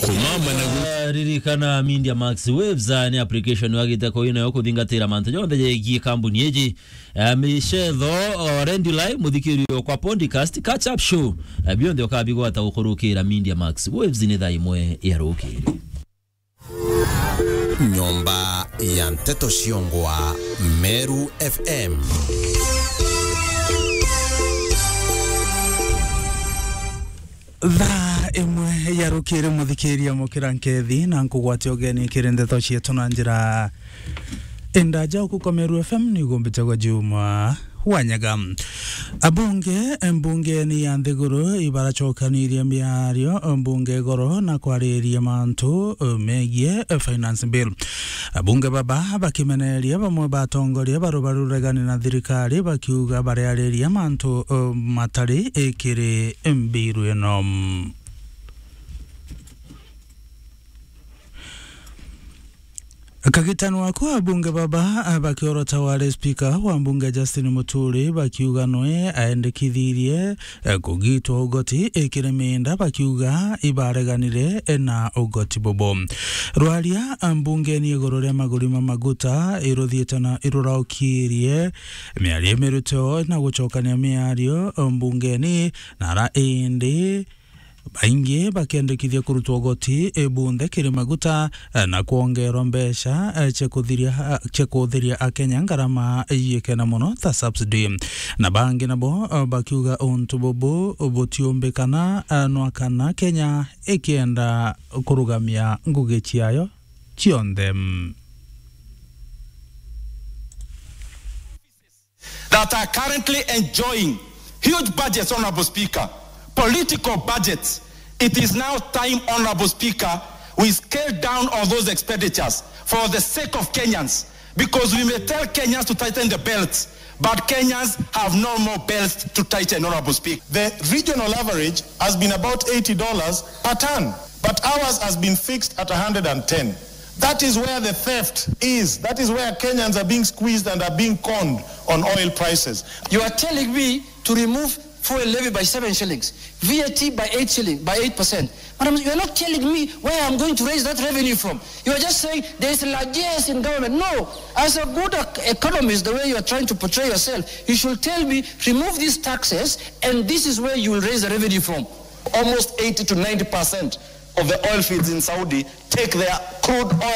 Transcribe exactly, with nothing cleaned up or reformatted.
Kumama na gu- Ah, ririkana Media Max Waves, ah, ni application wagite kuu nayo kuthingatira mantu jonthe jegie kambuni iji. Ah, micetho, o rendi live, muthikiri okwa podcast, catch up show. Ah, bionthe ukabigwata gukurukira Media Max Waves ni thaa imwe ya rukiri. Nyomba ya nteto ciongwa, Meru F M. Thaa imwe ya rukiri, muthikiria mukira nkethi na nkugwatia ugeni kiri ndeto cietu na njira indaja. Uku kwa Meru F M ni gumbite gwa Juma Wanyaga. Abunge mbungeni ya nthiguru ibaracokanirie miario mbunge igoro na kwariria mantu megie finance bill. Abunge baba bakimeneria bamwe ba atongoria baru baruregani na thirikari, bakiuga bariariria mantu matari ikiri mbiru ino. Kagitano aku abunge baba, ah, bakiorota wari spika wa mbunge Justin Muturi, bakiuga nwe aendekithirie, eh, kugitwa ugoti ikiri minda, bakiuga ibareganire, eh, na ugoti bubu. Rwaria, ah, mbungeni iguru ria maguri ma maguta iruthiite na iruraukirie miario imiruteo na gucokania miario, eh, mbungeni, na ara indi baingi bakiendekithia kurutwa ugoti, eh, bunthe kiri maguta, eh, na kwongerwa mbeca, eh, cia kuthiria, eh, cia kuthiria Akenya ngarama yikena mono ta subsidy. Na bangi nabo, eh, bakiuga untu bubu butiumbikana, eh, nwa kana Kenya ikienda kurugamia ngugi ciayo cionthe. That are currently enjoying huge budgets, Honorable Speaker, political budgets. It is now time, Honorable Speaker, we scale down on those expenditures for the sake of Kenyans, because we may tell Kenyans to tighten the belts, but Kenyans have no more belts to tighten, Honorable Speaker. The regional average has been about eighty dollars per ton, but ours has been fixed at a hundred and ten. That is where the theft is. That is where Kenyans are being squeezed and are being conned on oil prices. You are telling me to remove fuel levy by seven shillings, V A T by eight shilling, by eight percent. Madam, you are not telling me where I'm going to raise that revenue from. You are just saying there is largesse in government. No, as a good ec-, economist, the way you are trying to portray yourself, you should tell me, remove these taxes, and this is where you will raise the revenue from. Almost eighty to ninety percent of the oil fields in Saudi take their crude oil